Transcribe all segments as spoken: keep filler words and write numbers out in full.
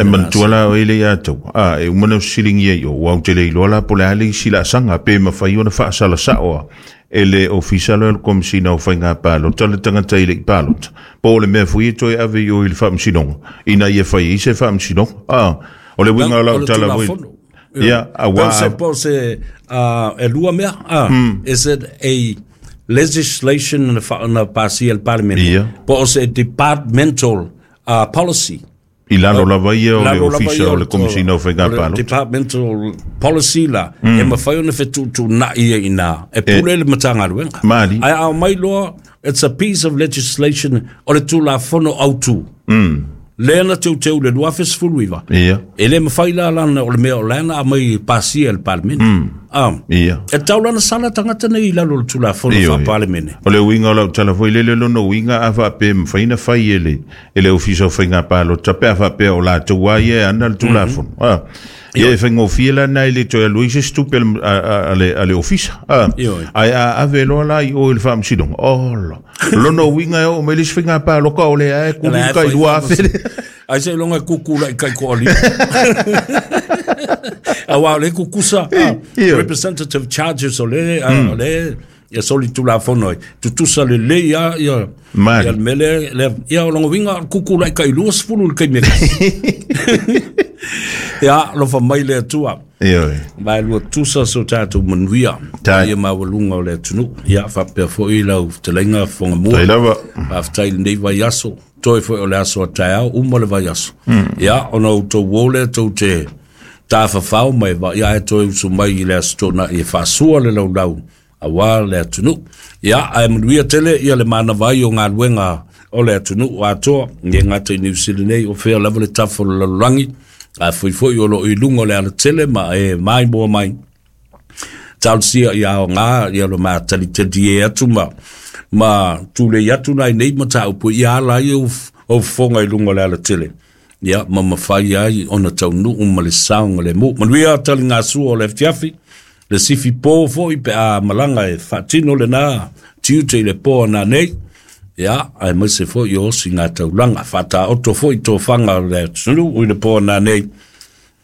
Ai manatua la o ele ia tau. A e uma na silingi ai o au te le iloa la po le a le isi laasaga pe mafai ona faasalasaoa e le ofisa lea o le Komesina o Faiga Palota le tagata i le i palota. Po o le mea foi e toe ave i o i le faamasinoga ina ia fai ai se faamasinoga. A o le uiga o O lau le tala foi. Tulafono. Ia, Po se auā po se uh, e lua mea ah, is it a legislation na fa na pasia e le Parliament Ia. po o se departmental uh, policy? I lalo lava ia o le Lalo lava ofisa ia o le Komesina o Faiga o le Palota. Departmental policy la e mafai ona fetuutuunai ai ina e pule le Matagaluega. Mali. Ae a mai loa it's a piece of legislation, o le Tulafono Autu lea na teuteu le lua afe sefulu iva. Ia. E le mafai la lana o le mea o lana a mai pasia e le Palemene. Ah. Ia. E tau lana sala tagata nei i lalo o le Tulafono Ioe. faa-Palemene. O le uiga o lau tala foi lele lona uiga a faapea mafai na fai e le, e le ofisa o Faiga Palota pe a faapea o latou a ia e ana le Tulafono. Ah. Ia e faigofie la na i le toe alu ai se isi tupe a le- a, a, a le, a le ofisa. Ah. Ioe. Ae a ave loa la i o i le faamasinoga. Ola. Lona uiga e oo mai le isi faiga paloka o le ae kuli Lea kai fai lua afe le. Ai se longa kuku la i kai ko ali. Aua o le kukusa ah, Ioe. representative charges o le ah, o le ia soli Tulafono ai. Tutusa le lei ia ia Mali. ia le mele le ia o longa winga kuku la i kai lua sefulu le kai me. Ia lofa mai le Atua. Ioe. Vai lua tusa so tātou manuia. Tai. Ia maualuga o le atunuu. Ia faapea foi lau fetalaiga Fogamua. Tai lava. Faafetai i lenei vaiaso. Toe foi o le aso a taeao, uma le vaiaso. Ia, ona outou o lea tou te tafafao mai va ia e toe usu mai i le aso Toonai e faasua le laulau auā le atunuu. Ia, ae manuia tele ia le manava ai o galuega o le atunuu atoa, e gata i Niu Sila nei, o fea lava le tafa o le lalolagi, a foi foi o loo i luga o le alatele ma e maimoa mai. Talosia ia aogā ia lo matalitali e atu ma ma tulei atu nai nei mataupu ia ala ai o o fofoga i luga o le alatele. Ia ma mafai ai ona taunuu ma le saoga le mu. Manuia taligasua o le afiafi, le sifi po foi pe a malaga e faatino lenā tiute i le po nanei. Ia, aemaise foi o osi taulaga, faataoto foi tofaga o le atunuu i le po nanei.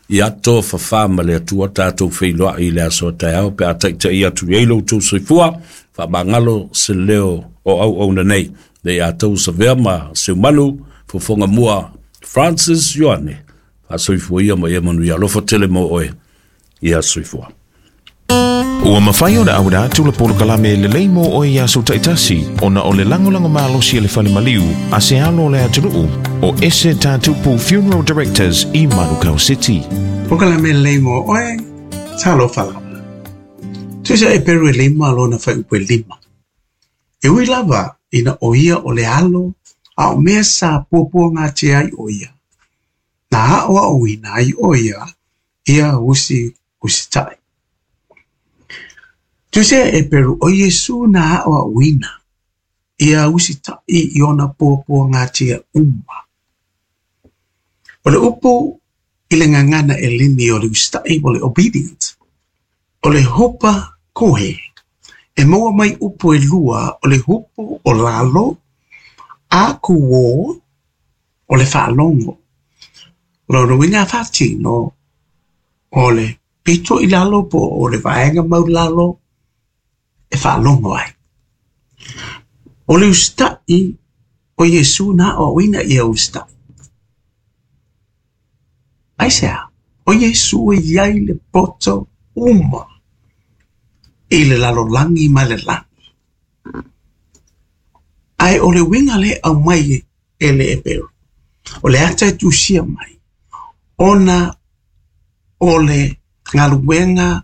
Ia to fafā ma le Atua tatou feiloai i le aso a taeao pe a taita'i atu i ai lo outou soifua, faamagalo se leo o auauna nei. Le ia tou savea ma seumanu, fofoga mua Francis Ioane. Faasoifua ia ma ia manuia. Alofa tele mo oe. Ia soifua. Ua mafai ona auina atu le polokalame lelei mo oe i aso taitasi ona o le lagolago malosi e le fale maliu a se alo o le atunuu o Ese Tatupu Funeral Directors i Manukau City. Polokalame lelei mo oe, talofa lava. Tusia Eperu e lima lona fuaiupu e lima. E ui lava ina o ia o le alo, a o mea sa puapuagatia ai o ia. Na aʻoaʻoina ai o ia, ia usi usitaʻi. Tusia Eperu o Iesu na aʻoaʻoina, ia usitaʻi i ona puapuagatia uma. O le upu i le gagana Eleni o le usitaʻi o le obedient. O le hupakohe. E maua mai upu e lua o le hupu o lalo, akouō o le faalogo. Lona uiga faatino o le pito i lalo po o le vaega maulalo e faalogo ai. O le usitaʻi o Iesu na aʻoaʻoina ia usitaʻi. Aisea, o Iesu e iai le poto uma i le lalolagi ma le lagi. Ae o le uiga le aumai e le Eperu. O le ata e tusia mai. Ona o le galuega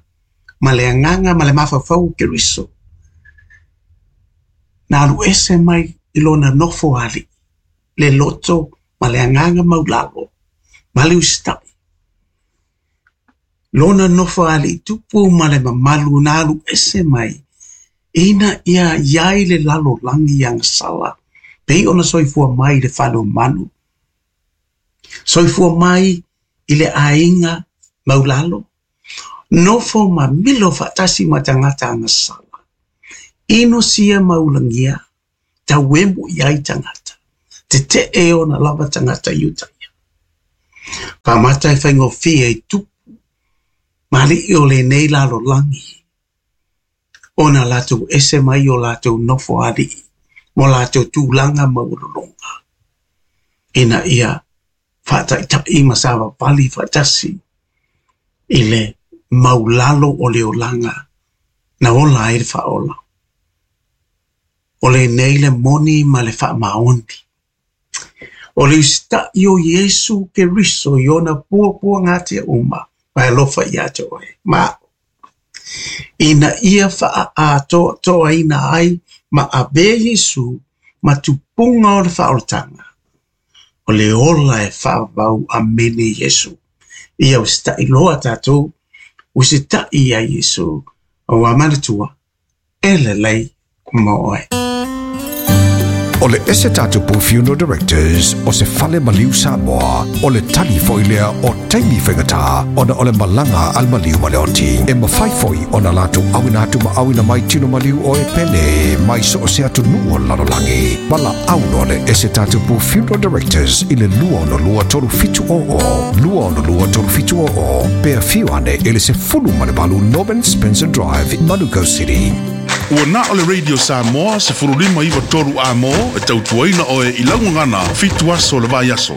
ma le agaga ma le mafaufau o Keriso. Na alu ese mai i lona nofo aliʻi. Le loto ma le agaga maulalo. Ma le usitaʻi. Lona nofo aliʻi tupu ma le mamalu na alu ese mai. Ina ia iai le lalolagi agasala. Pei ona soifua mai i le fale o manu. Soifua mai i le aiga maulalo. Nofo ma milo faatasi ma tagata agasala. Inosia maulagia. Tauemu i ai tagata. Tetee ona lava tagata i uta ia. Faamata e faigofie i tupu ma ali'i o lenei lalolagi ona latou ese mai o latou nofo ali'i mo latou tulaga maualuluga ina ia faataita'i ma savavali faatasi i le maulalo o le olaga na ola ai le faaola. O lenei le moni ma le faamaoni. O le usita'i o Iesu Keriso i ona puapuagatia uma ma e alofa ia te oe ma a'u ina ia faaatoatoaina ai ma avea Iesu ma tupuga o le faaolataga. O le ola e faavavau amene Iesu. Ia usita'i loa tatou, usita'i ia Iesu, auā manatua, e lelei mo oe. O le ese tatupu Funeral Directors o se fale maliu Samoa, o le tali foi lea o taimi faigata ona o le malaga al maliu ma le oti. E mafai foi ona latou auina atu ma auina mai tino maliu o e pele mai so o se atunuu o le lalolagi. Valaau loa le ese tatupu Funeral Directors i le lua ono lua tolu fitu o o, lua ono lua tolu fitu o o, pe afio ane i le sefulu ma le valu Norman Spencer Drive, Manukau City. Ua na o le Radio Samoa se furulima iwa toru a mo e tautuaina oe i laugagana fitu aso le vai aso.